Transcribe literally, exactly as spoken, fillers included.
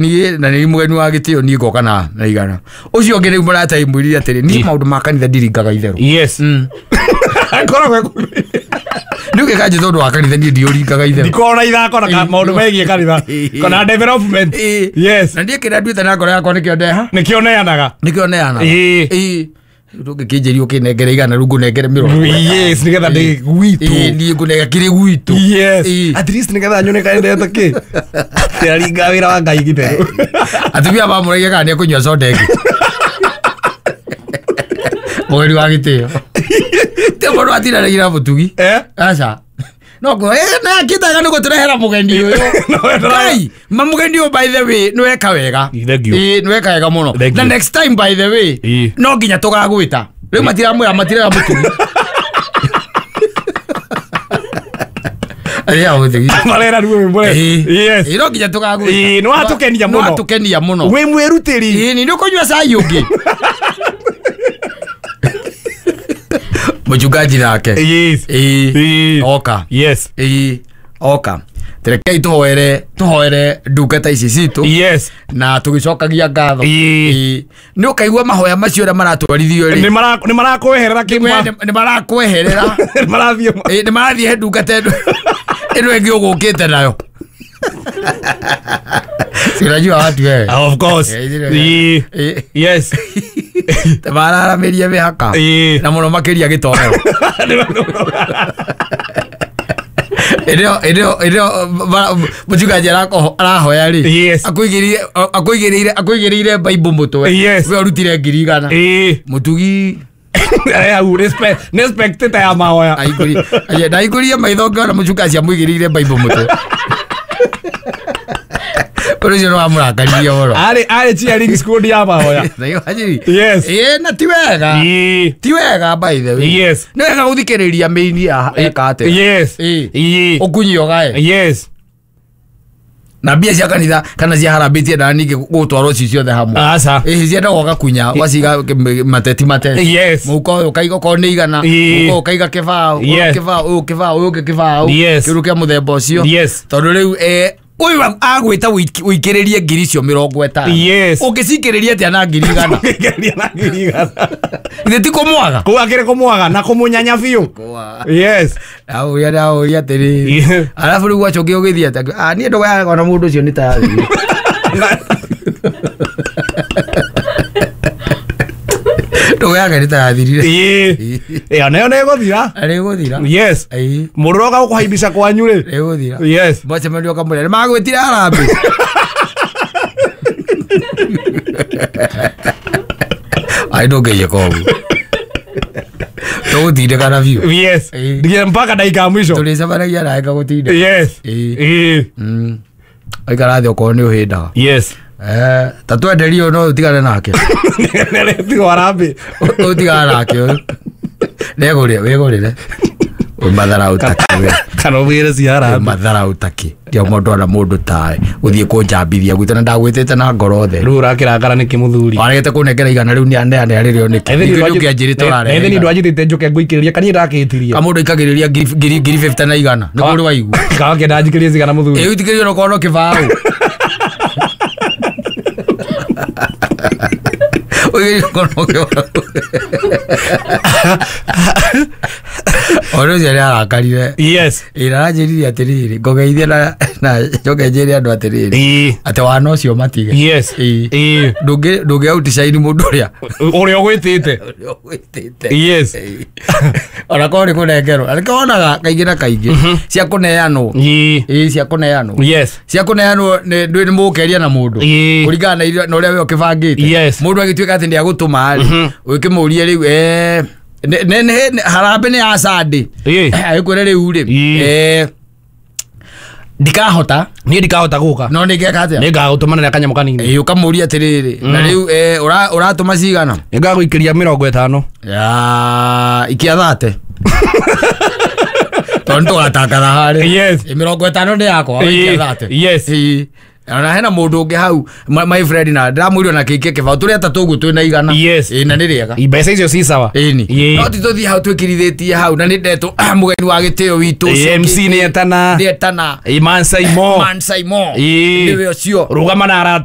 Niĩ na nĩ mũgeni wa gĩtĩo niĩ ngoka na na igana. Ũcio ũngĩ rĩu mũrata imwĩrire atĩrĩ niĩ maũndũ ma kanitha ndiringaga itherũ. Yes. Akoragwo Nĩ ũngĩkanjĩ tondũ wa kanitha niĩ ndiũringaga itherũ. Ndikoragwo na ithako na maũndũ megiĩ kanitha kana development. Yes. Na niĩ kĩrĩa nduĩte na ngoro yakwa nĩkĩo ndeha. Nĩkĩo neanaga. Nĩkĩo neanaga. Ĩĩ. Ndũngĩkĩnjĩria ũkĩnengere igana rĩu ngũnengere mĩrongo. Yes, nĩgetha ndĩ gwitũ. Ĩĩ niĩ ngũnengera kĩrĩ gwitũ. Yes. At least nĩgetha nyone kaendete kĩ. Ndĩraringa wĩra wa Ngai gĩtherũ. Atumia mamũragia kana nĩekũnyua soda ĩngĩ. Mũgeni wa gĩtĩo. Ti mũndũ atindanagĩra mũtugi. Eh? Aca. No ngo eh na akitaga nĩ gũtũrehera mũgeni ũyũ. Ngai, ma mũgeni ũyũ by the way nĩ weka wega. Ĩĩ nĩ weka wega mũno. Na next time by the way no nginya tũgagwĩta. Rĩu matiramwĩra matirera mũtugi. Arĩa mũtugi. Marera rĩu mwĩ. Yes. Ĩĩ no nginya tũgagwĩta. Ĩĩ nĩ watũkenia mũno. Nĩ watũkenia mũno. Wĩ mwĩrutĩri. Ĩĩ nĩ ũkũnyua cai ũngĩ. Mchungaji nake. Yes. Ĩĩ. Oka. Yes. Ĩĩ. Oka. Terekei tuhoere tuhoere ndungata ici citũ. Yes. Na tũgĩcokagia ngatho. Ĩĩ. Nĩ ũkaigua mahoya macio ũrĩa maratwarithio rĩ. Nĩ marakweherera kĩma. Nĩ marakweherera. Nĩ marathiĩ. Ĩĩ nĩ marathiĩ he ndungata ĩno ĩno ĩngĩ ũgũkĩte nayo. Si unajua watu wewe. Of course. Ĩĩ. Yes. Mararamirie mĩhaka. Na mũno makĩria gĩtoero. Ĩrĩo ĩrĩo ĩrĩo mũchungaji arahoya rĩ. Akũigĩrĩire akũigĩrĩire akũigĩrĩire Bible mũtwe. We ũrutire ngiri igana. Mũtugi hau respect nĩ spectator ya mahoya. Aingũrie ndaingũrie maitho ngĩona mũchungaji amũigĩrĩire Bible mũtwe. Ũndũ ũcio nĩ wamũrakaririe mũno. Arĩ arĩ cheering squad ya mahoya. Yes. Ĩĩ na ti wega. Ti wega by the way. Yes. Nĩ wega gũthikĩrĩria mĩini eka atĩa. Yes. Ĩĩ. Ũkunyi ũgae. Yes. Na mbia cia kanitha kana cia harambee tiendaga ningĩ gũtwarwo ci ciothe hamwe. Aca. Ĩĩ ciendaga ũgakunya ũgaciga mateti mateti. Yes. Mũhuko ũyũ ũkaiga okorwo nĩ igana. Mũhuko ũyũ ũkaiga kĩbaũ. Ũyũ kĩbaũ ũyũ kĩbaũ ũyũ ũngĩ kĩbaũ. Kĩndũ kĩa mũthemba ũcio. Yes. Tondũ rĩu ũyũ agwĩta ũikĩrĩrie ngiri icio mĩrongo ĩtano. Yes. Ũngĩcikĩrĩria atĩa na ngiri igana? Ũngĩkĩrĩria na ngiri igana. Githĩ ti kũmwaga? Kũu akĩrĩ kũmwaga na kũmũnyanya biũ. Yes. Ndamũria ndamũria atĩrĩrĩ. Arabu rĩu gwacokia ũgĩthiĩ atĩa? Ah niĩ ndũgayaga na mũndũ ũcio nĩ tayathire. Ndũgayaga nĩ tayathirire. Ĩĩ. Ĩyo nayo nĩ ĩgũthira. Nĩ ĩgũthira. Yes. Mũndũ ũroka gũkũhaimbisha kwanyu rĩ. Nĩ ĩgũthira. Yes. Mwacemania ũkamwĩra nĩ magwĩtire harambee. Ai ndũngĩiyĩka ũguo. Tũgũtindĩkana biũ. Yes. Nginya mpaka ndagĩka ya mũico. Tũrĩcemanagia nawe ngagũtindĩka. Yes. Ĩĩ. Aikara thĩ okorwo nĩ ũhĩndaga. Yes. Eh, ta twenderie ũyũ no ũtigane nake. Nĩaretirwo harambee. Ũtigane nake ũyũ. Nĩegũrĩre wĩgũrĩre. Wĩ matharaũ takĩ we. Kana ũmwĩre cia harambee. Matharaũ takĩ. Ndio mũndũ ona mũndũ tawe. Gũthiĩ kũnjambithia gwitũ na ndagwĩtĩte na ngoro theru. Rĩu ũrakĩrakara nĩkĩ mũthuri? Waregete kũnengera igana rĩu nĩaneane rĩrĩo nĩkĩ? Ningĩ nĩũkĩanjĩrĩte ũrarehe. Ethĩ nĩ ndwanjĩtĩte njũke ngũikĩrĩria kana niĩ ndakĩtirie. Kamũndũ aikagĩrĩria ngiri ngiri fifty na igana. Nĩ kũrĩ waigua. Kana kĩenda njikĩrie cigana mũthuri? Ĩĩ ũitikĩrie onokorwo no kĩbaũ. Ũigĩrĩrie okorwo no kĩbaũ. Ũndũ ũcio nĩ arakarire. Yes. Ĩĩ na aranjĩrire atĩrĩrĩ ngũgeithie na na njoke njĩre andũ atĩrĩrĩ. Ĩĩ. Atĩ wana ũcio matige. Yes. Ĩĩ. Ĩĩ. Ndũngĩ ndũngĩ outshine mũndũ ũrĩa ũrĩa ũgwĩtĩte. Ũrĩa ũgwĩtĩte. Yes. Ona korwo nĩ kũnengerwo. Na nĩkĩo wonaga kaingĩ na kaingĩ cia kũneanwo. Ĩĩ. Ĩĩ cia kũneanwo. Yes. Cia kũneanwo nĩ ndwĩ nĩ mũgũkeria na mũndũ. Ĩĩ. Kũringana na iria na ũrĩa we ũkĩbangĩte. Yes. Mũndũ agĩtuĩka atĩ nĩagũtũma rĩ. Ũkĩmũrie rĩu eh ne ne harambee nĩ ya Sunday. Ĩĩ. Agĩkwĩra rĩu rĩ. Ĩĩ. Eh ndikahota. Niĩ ndikahota gũka. No nĩ ngeka atĩa? Nĩ ngagũtũmanĩra kanyamũ kanini. Ĩĩ ũkamũria atĩrĩrĩ. Na rĩu eh ũratũma cigana? Nĩ ngagũikĩria mĩrongo ĩtano. Ya ikia thate. Tondũ nĩ tũgatangatha harĩa. Yes. Ĩ mĩrongo ĩtano nĩ yakwa ikia thate. Yes. Ĩĩ. Ona hena mũndũ ũngĩ hau my my friend na ndĩramwĩrwo na kĩingĩ kĩbaũ tũrĩ atatũ ũguo twĩna igana. Yes. Ĩ, na nĩ rĩega. Mbeca icio ci sawa. Ĩni. Ĩĩ. No ti tũthiĩ hau twĩkĩrithĩtie hau na nĩ ndetwo mũgeni wa gĩtĩo witũ ũcio. M C nĩ etana. Nĩ etana. Ĩ, Mansaimo. Mansaimo. Ĩĩ. Nĩwe ũcio. Rũgama na arata.